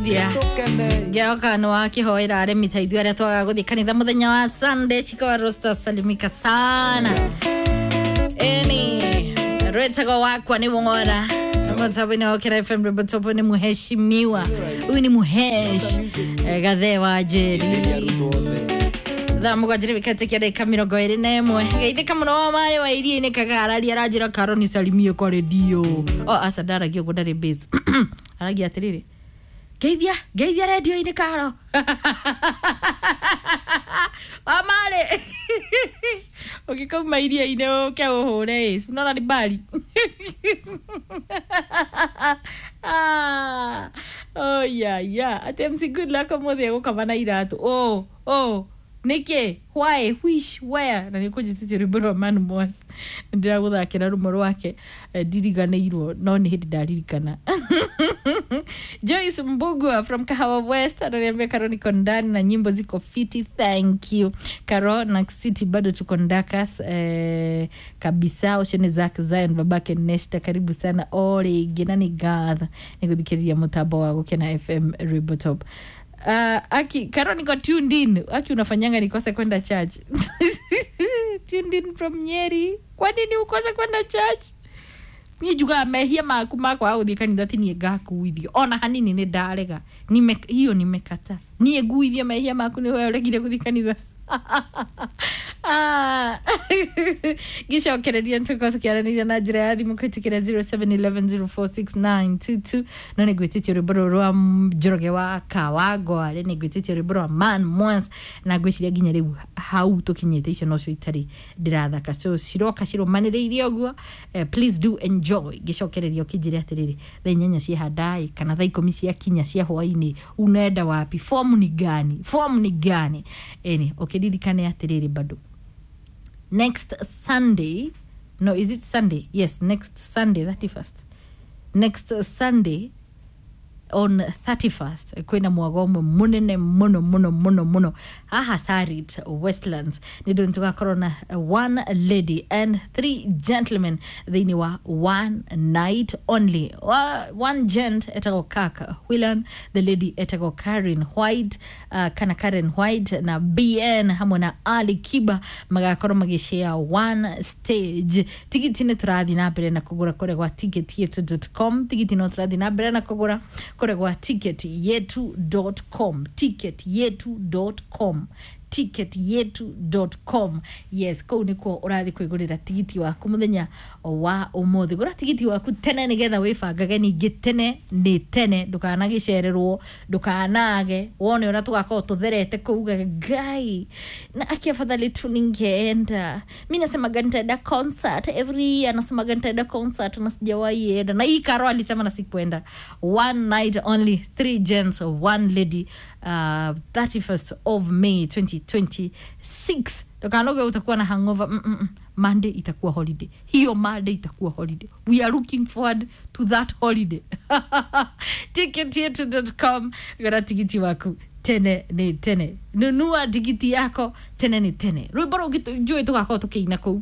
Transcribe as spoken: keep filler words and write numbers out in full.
Thia ngĩoka nĩ wakĩhoera arĩmi ta ithuĩ arĩa twagaga gũthiĩ kanitha mũthenya wa Sunday. Shikawa Rosta, salimika sana. Eni rwetagwo wakwa nĩ wora mũtambo-inĩ wa Ũkĩra F M, rwĩmbo nĩ muheshimiwa, huyu ni muhesh eh, Gathee wa Njeri. Thaa mũgwanja nĩ gĩkatĩkia ndagĩka mĩrongo ĩrĩ na ĩmwe. Geithĩka mũno wa maĩ wa iria-inĩ kagararia aranjĩra karo nisalimie kwa redio. O aca, ndaragia ũguo, ndarĩ base, aragia atĩrĩrĩ, ngeithia ngeithia redio-inĩ karo wamarĩ ũngĩkauma iria-inĩ ũke ũhũre ĩ unaona ni mbali. Ah, oh yeah yeah ati M C Good Luck ũmũthĩ egũkama na iratũ. Oh oh nĩkĩ, why, which, where? Na nĩkũnjĩtĩtie rwĩmbo rwa Man Moss, nĩndĩragũthakĩra rũmwe rwake. eh, ndiriganĩirwo no nĩ hĩndĩ ndaririkana. Joyce Mbugua from Kahawa West ananiambia, "Karo, niko ndani na nyimbo ziko fiti, thank you." Karo na City bado tuko ndakas eh, kabisa. Ũcio nĩ Zack Zion, babake Nesta, karibu sana o rĩngĩ na nĩ ngatha nĩ gũthikĩrĩria mũtambo wa Gũkena F M Rwĩmbo Top. Uh, aki Karo, niko tuned in. Aki unafanyanga nikose kwenda church. Tuned in from Nyeri. Kwa nini ukose kwenda church? Niä njugaga mehia maku makwaga gå thiä kanitha ti niä ngakuithio ona hanini, nä ndarega. Nime, hiyo nimekata. Niä nguithie mehia maku nä we ũregire gũthiĩ kanitha? Ah, ngĩcokereria nĩtũkorwo tũkĩaranĩria na njĩra ya thimũ kũhĩtũkĩra zero seven one one zero four six nine two two. No nĩ ngwĩtĩtie rwĩmbo rũrũ rwa Njoroge wa Kawangware, nĩ ngwĩtĩtie rwĩmbo rwa Man Mons, na ngwĩciria nginya rĩu hau tũkinyĩte icio nocio itarĩ ndĩrathaka, so ciroka cirũmanĩrĩirie ũguo. eh, please do enjoy. Ngĩcokereria ũkĩnjĩre atĩrĩrĩ, thaa inyanya ciahandaĩ kana thaa ikũmi ciakinya cia hwainĩ, unaenda wapi? Fomu ni gani? Fomu ni gani? Eni ũkĩririkane atĩrĩrĩ, bado next Sunday, no, is it Sunday? Yes, next Sunday, thirty-first, next Sunday on thirty-first, kwina mwago ũmwe mũnene mũno mũno mũno mũno haha Sarit Westlands, nĩ ndũ tũgakorwo na one lady and three gentlemen thĩinĩ wa one night only. Wa- one gent etagwo Kaka Whelan, the lady etagwo Karen White, uh, kana Karen White na B N hamwe na Ali Kiba magakorwo magĩshare one stage. Tigiti nĩ tũrathiĩ na mbere na kũgũra kũrĩa gwa ticket yetu dot com. Tigiti no tũrathiĩ na mbere na kũgũra kũrĩa gwa ticket yetu dot com, ticket yetu dot com, ticket yetu dot com. Yes, kũu nĩkuo ũrathiĩ kwĩgũrĩra tigiti waku mũthenya wa ũmũthĩ. Gũra tigiti waku tene nĩgetha wĩbangage ningĩ tene nĩ tene, ndũkanagĩcererwo, ndũkanage wone ũrĩa tũgakorwo tũtherete kũu ugage ngai na aki afadhali tu ningeenda. Mi nasemaga nitaenda concert every year, nasemaga nitaenda concert na sijawahi enda, na hii Karo alisema na sikuenda. One night only, three gents, one lady, uh, thirty-first of May twenty twenty-six. Ndũkanoge utakuwa na hangover. mm -mm. Monday itakuwa holiday, hiyo Monday itakuwa holiday. We are looking forward to that holiday. ticket yetu dot com, gora tikiti waku tene nĩ tene, nunua tikiti yako tene nĩ tene. Rwĩmbo rũngĩ njũĩ tũgakorwo tũkĩina kũu.